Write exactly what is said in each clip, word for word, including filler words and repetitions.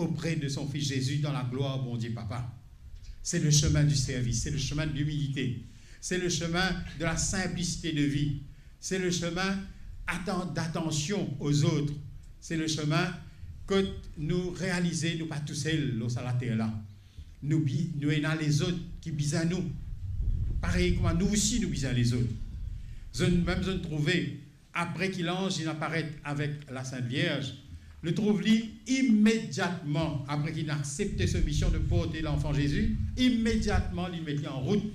auprès de son Fils Jésus dans la gloire Bondie Papa. C'est le chemin du service, c'est le chemin de l'humilité, c'est le chemin de la simplicité de vie, c'est le chemin atten-, d'attention aux autres, c'est le chemin kot nou realize nou pa tousel lor sa later la. Nou bi-, nou ena lezot ki bizin nou. Parey kouma nou osi nou bizin lezot. Zot mem, zot trouve, apre ki lanz inn aparet avek Lasint Vierz, nou trouv li imediatman, apre ki inn aksepte so mision de porte lanfan Zezi, imediatman li met li an rout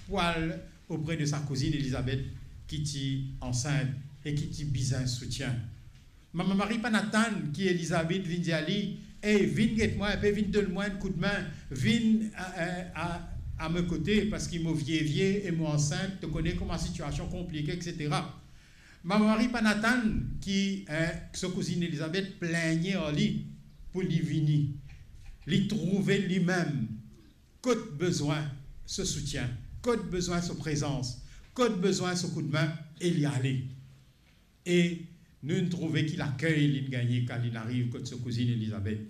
pou al opre de sa kouzinn Elizabet ki ti ansint e ki ti bizin soutien. Mama Mari pa'nn atann ki Elizabet vinn dir li, "Ey, vinn get mwa inpe, vinn donn mwa enn koudmin, vinn a, a, a, a mo kote, parski mo vie vie e mo ansint, to kone kouma sitiasion konplike, et cetera." Mama Mari pa'nn atann ki, eh, so kouzinn Elizabet pligne ar li pou li vini. Li trouve limem kot bizin so soutien, kot bizin so prezans, kot bizin so koudmin, e li ale. E nou trouve ki lakey li'nn gagne kan li'nn ariv kot so kouzinn Elizabet.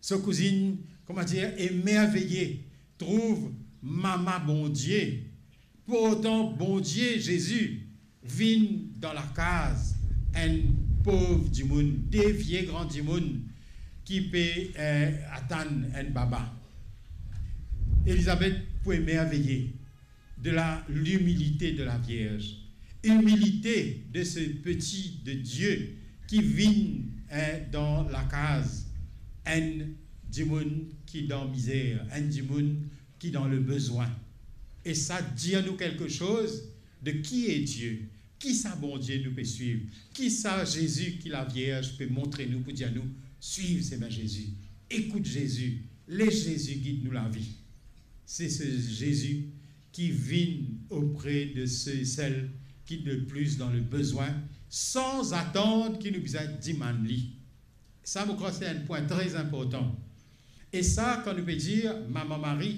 So kouzinn, kouma dir, emerveye, trouv Mama Bondie, portan Bondie Zezi, vinn dan lakaz enn pov dimoun, de vie gran dimoun ki pe, eh, atann enn baba. Elizabet pou emerveye de la, l'humilité de la Vierge, humilité de ce petit de Dieu ki vinn, eh, dan lakaz enn dimoun ki dan mizer, enn dimoun ki dan le bizin. E sa dir nou kelke soz de qui est Dieu, ki sa Bondie nou pe swiv, ki sa Zezi ki Lavierz pe montre nou pou dir nou, swiv semin Zezi, ekout Zezi, les Zezi gid nou lavi. Se, se Zezi ki vinn opre de se e sel ki le plis dan le bizin, san atann ki nou bizin dimann li. Sa, mo krwar, se enn pwin tre inportan. E sa, kan nou pe dir, Mama Mari,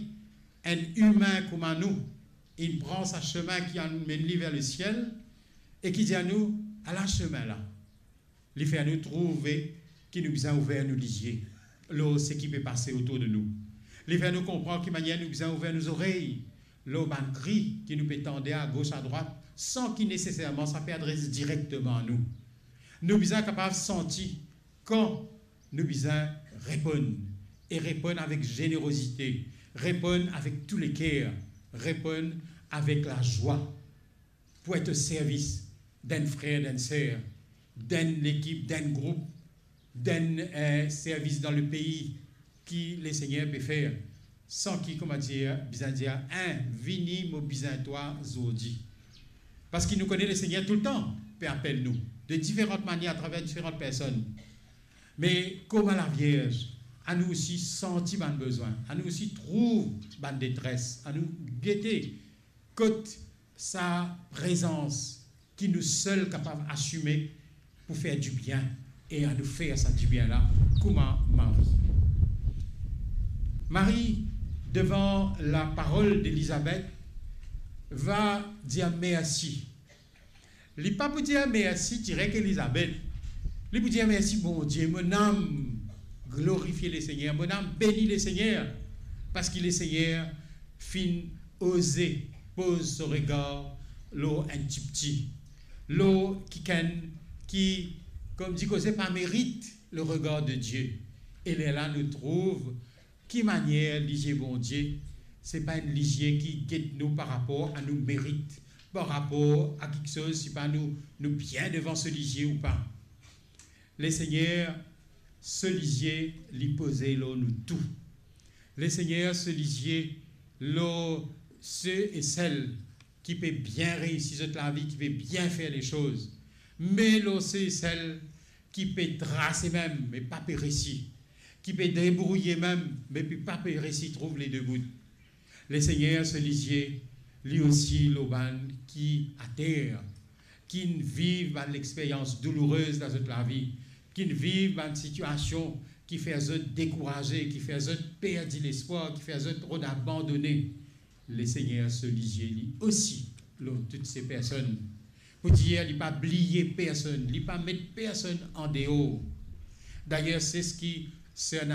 enn imin kouma nou, inn pran sa semin ki amenn li ver lesiel, e ki dir nou, ala semin la. Li fer nou trouve ki nou bizin ouver nou lizie lor seki pe pase otour de nou. Li fer nou konpran ki manier nou bizin ouver nou zorey lor bann kri ki nou pe tande agos, adrwat, san ki neseserman sa pe adres direkteman a nou. Nou bizin kapav santi kan nou bizin reponn, e reponn avek zenerozite, reponn avek tou leker, reponn avek lazwa pou et o servis d'enn frer, d'enn ser, d'enn lekip, d'enn group, d'enn, eh, servis dan lepei ki Lesegner pe fer, san ki, kouma dir, bizin dir, eh, vini, mo bizin twa zordi. Parski nou kone Lesegner toultan pe apel nou de diferan manier atraver diferan personn. Me kouma Lavierz, anou osi santi bann bizin, anou osi trouv bann detres, anou gete kot sa prezans ki nou sel kapav asime pou fer dibien, e anou fer sa dibien la kouma Mari. Mari, devan laparol d'Elizabet, va dir mersi. Li pa pou dir mersi direk Elizabet. Li pou dir mersi Bondie, mo nam glorifie Lesegner, mo nam beni Lesegner, parski Lesegner finn oze poz so regar lor enn tipti, lor kikenn ki, kouma dir koze, pa merit le regar de Die. E lerla nou trouv ki manier lizie Bondie, se pa enn lizie ki get nou par rapor a nou merit, par rapor a kiksoz, se pa nou, nou bien devan so lizie ou pa. Lesegner, so lizie, li poze lor nou tou. Lesegner, so lizie, lor se e sel ki pe bien reisi zot lavi, ki pe bien fer lesoz. Me lor se e sel ki pe trase mem, me pa pe resi, ki pe debrouye mem, me pe pa pe resi trouv le debout. Lesegner, so lizie, li osi lor bann ki ater, ki'nn viv bann lexperyans doulourez dan zot lavi, ki'nn viv bann sitiasion ki fer zot dekouraze, ki fer zot perdi lespwar, ki fer zot rod abandone. Lesegner, so lizie, li osi lor tou se personn. Pou dir, li pa bliye personn, li pa met personn andeor. Dayer, se seki Ser